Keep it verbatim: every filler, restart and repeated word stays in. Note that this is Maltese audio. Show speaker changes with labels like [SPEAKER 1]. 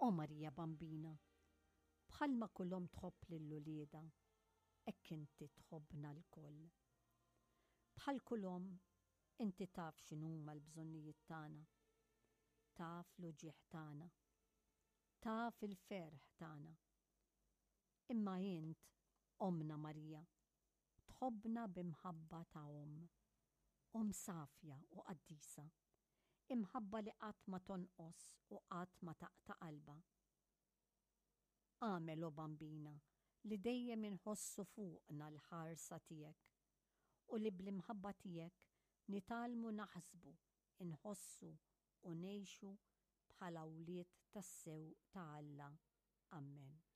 [SPEAKER 1] O Marija Bambina, bħalma kull omm tħobb lil uliedha, hekk inti tħobbna lkoll. Bħal kull omm, inti taf x'inhuma l-bżonnijiet tagħna, taf l-uġigħ tagħna, taf il-ferħ tagħna. Imma int, Ommna Marija, tħobbna b'imħabba ta' omm, omm safja u qaddisa, imħabba li qatt ma tonqos u qatt ma taqta' qalbha. Agħmel, o Bambina, li dejjem inħossu fuqna l-ħarsa tiegħek u li bl-imħabba tiegħek nitgħallmu naħsbu, inħossu u ngħixu bħala wlied tassew ta' Alla. Amen.